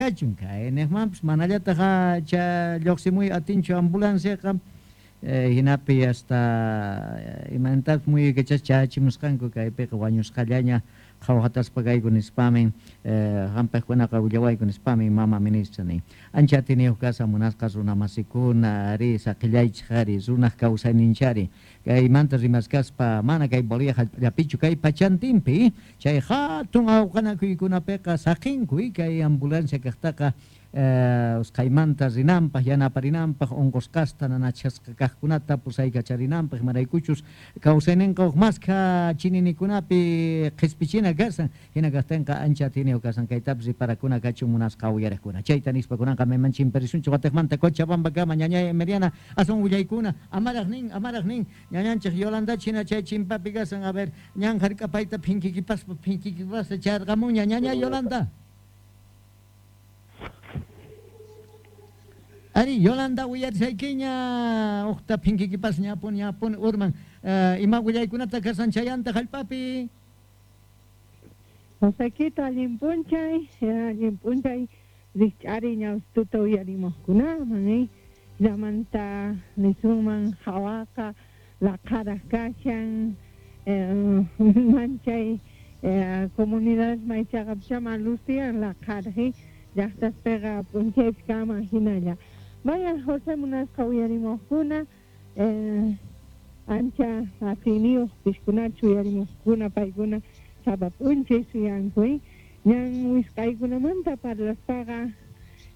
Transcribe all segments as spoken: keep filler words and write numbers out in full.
kachun kaynejmanpis manallataq cha lluqsimuy atinchu ambulanciaqa hinapi hasta imantas muyuykachas chachimusqanku kaypiqa wañusqallaña qhawhataspa kayku nispamin hampiqkunaqa willawayku nispamin mama ministra nin ancha atiniyuq kasa munasqa runamasikuna ari saqillaychik ari runaq kawsayninchari kaymanta rimaskaspa mana kay Bolivia hallp'allapichu kay pachantinpi chay hatun awqanakuykunapiqa saqinku kay ambulancia kaqtaqa usqhaymanta rinanpaq yanaparinanpaq unqusqasta nanachasqa kaqkunata pusaykacharinampaq imaraykuchus kawsayninqa huk maskha chininikunapi qhispichina kasan hina kaqtinqa ancha atiniyuq kasan kaytapis riparakuna kachun munasqa uyariqkuna chayta nispa kunanqa mayman chimparisunchik watiqmanta Cochabambakama ñañay Emiliana aswan willaykuna amaraq nin amaraq nin ñañanchik Yolanda china chay chimpapi kasan a ver ñan hark'apayta phinkikipaspa phinkikipaspa charqamunña ñañay Yolanda. Ari, Yolanda uyarisaykiña uqta phinkikipas ñapun ñapun urman ima willaykunata kasan chayanta hallp'api. Josequito allin p'unchay allin p'unchay rikch'ari ñawstuta uyarimuqkunaman eh llamanta nisunman hawaqa laqharaq kashan manchay comunidades maychaqapchama luz tiyan laqharaq llaqtaspiqa p'unchaypi kanman hinalla. Vaya José munasqa uyarimuqkuna eh, ancha atiniyuq pishkunachu uyarimuqkuna paykuna sapa p'unchay suyanku ñan wisq'aykunamanta parlaspaqa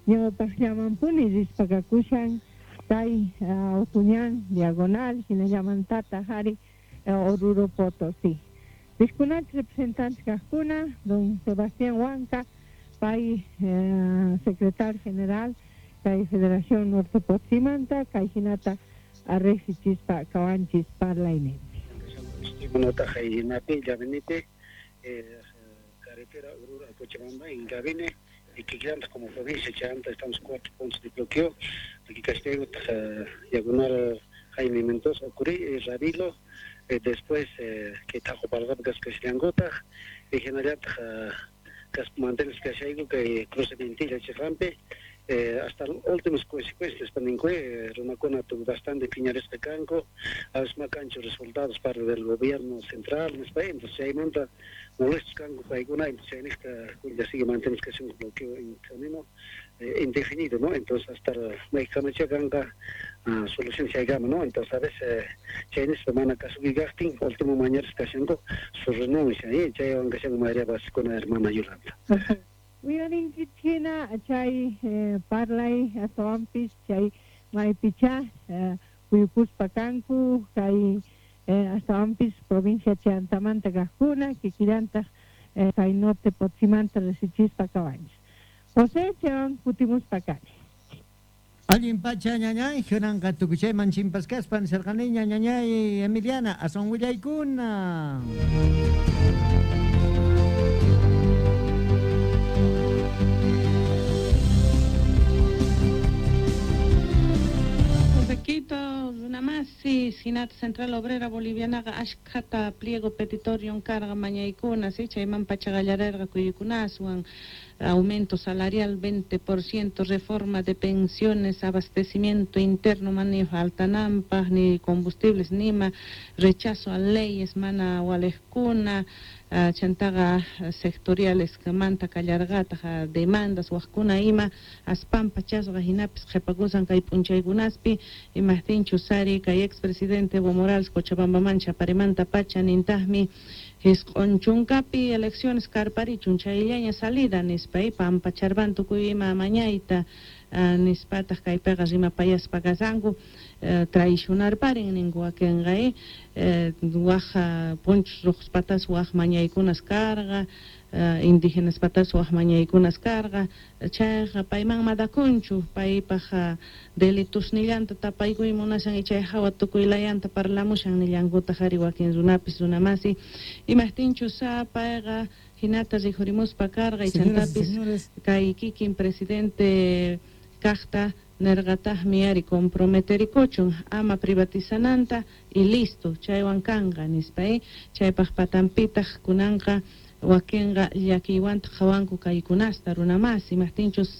ñawpaqllamanpuni rispakakushan kay Autoñan Diagonal hinallamantataq ari Oruro Potosí. Pishkunachu representantes kaqkuna don Sebastián Huanca pay eh, secretario general kay Federación Norte Potsimanta kay hinata arreqsichispa kawanchis parlayninpi. Estimado hinapi llavinite carretera Oruro a Cochabamba en Gabine y que como provincia chanta estamos cuatro puntos de bloqueo aquí Castello Diagonal Jaime Mendoza Ocurí Rabilo después que tajo para Cascasliangota y general mantenes que que cruce Ventilla Chirrampe Eh, hasta últimas consecuencias paninque runakuna tuvo bastante piñaresqa kanku asma kanchu resultados parte del gobierno central nispa entonces chaymanta molestos kanku paykuna entonces chayniqta ya sigue mantenes que un bloqueo en camino eh, indefinido, ¿no? Entonces hasta maykamacha kanqa uh, solución chaykama, ¿no? Entonces a veces chaynispa mana kasukikaqtin último mañares kashanku su renuncia ¿eh? Chaywan kashanku mayoría basikuna hermana Yolanda. Uyarinkichina chay eh, parlay astawanpis chay maypicha eh, kuyukuspa kanku kay eh, astawanpis provincia chantamanta kaqkuna kikillantaq eh, kay norte Potsimanta resichispa kawanchis. José chaywan kutimuspa kani. Allin pacha ñañay kunanqa tukuchayman chimpaskaspa nisarqaniña ñañay Emiliana aswan willaykuna. Quito, runamasi, Sinat Central Obrera Bolivianaqa ashkhata pliego petitorio carga mañaykuna, si chayman pachaqallarerqa kuyukunaswan, aumento salarial veinte por ciento, reforma de pensiones, abastecimiento interno, mani faltanampaj, ni combustibles, nima, rechazo a leyes, mana walejkuna, uh, chantaqa sectoriales manta kallarqataq demandas wajkuna ima aspampa chasqa hinapis qhipakusan kay p'unchaykunaspi imaqtinchus ari kay expresidente Evo Morales Cochabambaman chaparimanta pacha nintaqmi hisq'un chunkapi elecciones karparichun chayllaña salida nispa pampacharpan tukuy ima mañayta uh, nispataq kaypiqa rimapayaspa kasanku uh, traicionarparin ninku wakinqa eh, waj punchus ruqspatas waj mañaykunas karqa uh, indígenas patas waj mañaykunas karqa chayqa payman madakunchu paypaq uh, delitusnillanta tapaykuy munashan y chay hawa tukuylayanta parlamushan nillankutaq ari wakin runapis runamasi imaqtinchus payqa hinata rikhurimuspa karqa y chantapis kay kikin presidente kaqta nerqataqmi ari comprometerikuchun ama privatizananta y listo chaywan kanqa nispa eh chaypaq patanpitaq kunanqa wakinqa llakiywantaq qhawanku kaykunasta runamasi imaqtinchus